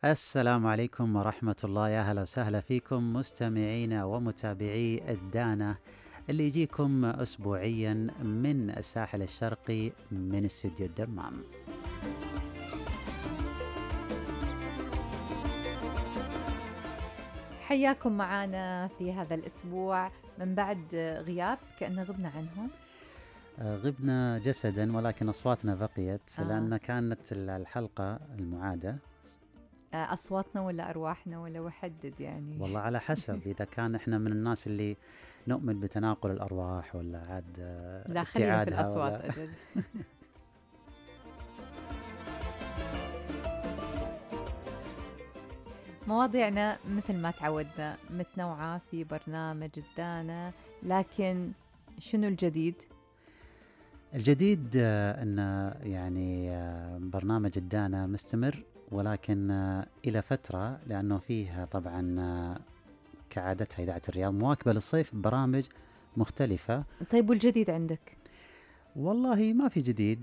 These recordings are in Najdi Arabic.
السلام عليكم ورحمة الله، يا هلا وسهلا فيكم مستمعينا ومتابعي الدانة اللي يجيكم أسبوعيا من الساحل الشرقي من استديو الدمام. حياكم معنا في هذا الأسبوع من بعد غياب كأننا غبنا عنهم. غبنا جسدا ولكن أصواتنا بقيت لأن كانت الحلقة المعادة. أصواتنا ولا أرواحنا ولا وحدد يعني؟ والله على حسب، إذا كان إحنا من الناس اللي نؤمن بتناقل الأرواح ولا عاد لا خلينا في الأصوات أجل. مواضيعنا مثل ما تعودنا متنوعة في برنامج الدانة، لكن شنو الجديد؟ الجديد أن يعني برنامج الدانة مستمر، ولكن إلى فترة، لأنه فيه طبعا كعادتها إذاعة الرياض مواكبة للصيف برامج مختلفة. طيب والجديد عندك؟ والله ما في جديد،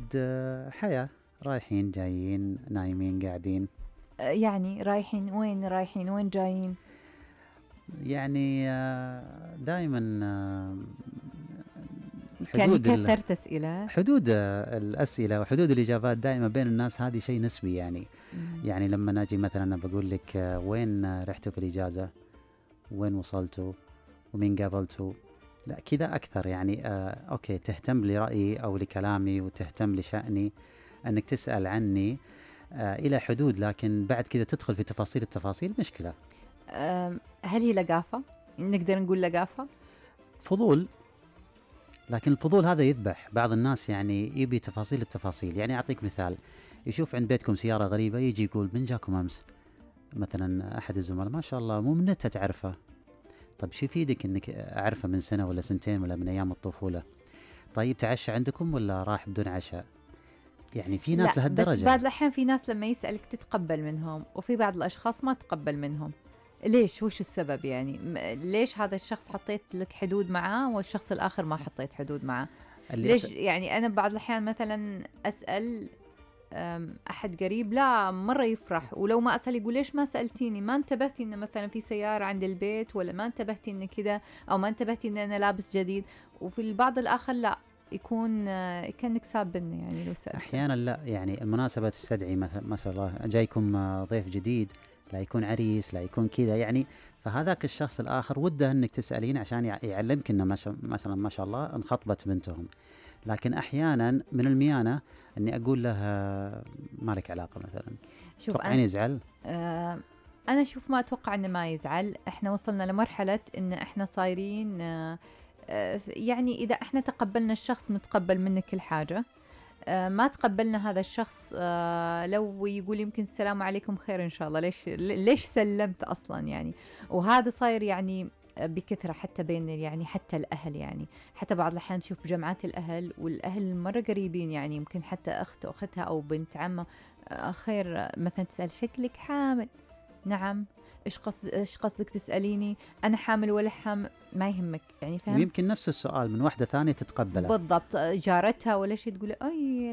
حياة، رايحين جايين نايمين قاعدين. يعني رايحين وين جايين؟ يعني دائما كان كثرت أسئلة، حدود الأسئلة وحدود الإجابات دائما بين الناس، هذه شيء نسبي يعني. يعني لما نجي مثلا أنا بقول لك وين رحتوا في الإجازة، وين وصلتوا، ومين قابلتوا، لا كذا أكثر يعني. أوكي، تهتم لرأيي أو لكلامي وتهتم لشأني أنك تسأل عني إلى حدود، لكن بعد كذا تدخل في تفاصيل التفاصيل مشكلة. هل هي لقافة؟ نقدر نقول لقافة؟ فضول، لكن الفضول هذا يذبح بعض الناس، يعني يبي تفاصيل التفاصيل. يعني أعطيك مثال، يشوف عند بيتكم سيارة غريبة يجي يقول من جاكم أمس؟ مثلا أحد الزملاء ما شاء الله مو من نتها تعرفه. طب شو يفيدك إنك أعرفه من سنة ولا سنتين ولا من أيام الطفولة؟ طيب تعشى عندكم ولا راح بدون عشاء؟ يعني في ناس لهالدرجة. بس بعض الأحيان في ناس لما يسألك تتقبل منهم، وفي بعض الأشخاص ما تقبل منهم. ليش؟ وش السبب يعني؟ ليش هذا الشخص حطيت لك حدود معاه والشخص الآخر ما حطيت حدود معاه؟ ليش؟ يعني أنا بعض الأحيان مثلا أسأل أحد قريب لا مرة يفرح، ولو ما أسأل يقول ليش ما سألتيني؟ ما انتبهتي إن مثلا في سيارة عند البيت، ولا ما انتبهتي إن كذا، أو ما انتبهتي إن أنا لابس جديد. وفي البعض الآخر لا، يكون كأنك سابني يعني لو سألت. أحيانا لا، يعني المناسبة تستدعي مثلا الله جايكم ضيف جديد، لا يكون عريس، لا يكون كذا يعني. فهذاك الشخص الآخر وده أنك تسألين عشان يعلمك إنه مثلا ما شاء الله انخطبت بنتهم. لكن أحيانا من الميانة أني أقول له ما لك علاقة مثلا. شوف أنا يزعل؟ أنا شوف ما أتوقع أنه ما يزعل. إحنا وصلنا لمرحلة إن إحنا صايرين يعني إذا إحنا تقبلنا الشخص نتقبل منك كل حاجة. ما تقبلنا هذا الشخص لو يقول يمكن السلام عليكم خير إن شاء الله، ليش سلمت أصلا يعني. وهذا صاير يعني بكثرة حتى بين يعني حتى الأهل، يعني حتى بعض الأحيان تشوف جمعات الأهل، والأهل مرة قريبين، يعني يمكن حتى أختها أو بنت عمه خير مثلا تسأل شكلك حامل؟ نعم. إيش قصدك تسأليني؟ أنا حامل ولا حامل؟ ما يهمك يعني، فهم؟ ويمكن نفس السؤال من واحدة ثانية تتقبله بالضبط، جارتها ولا شيء تقول أي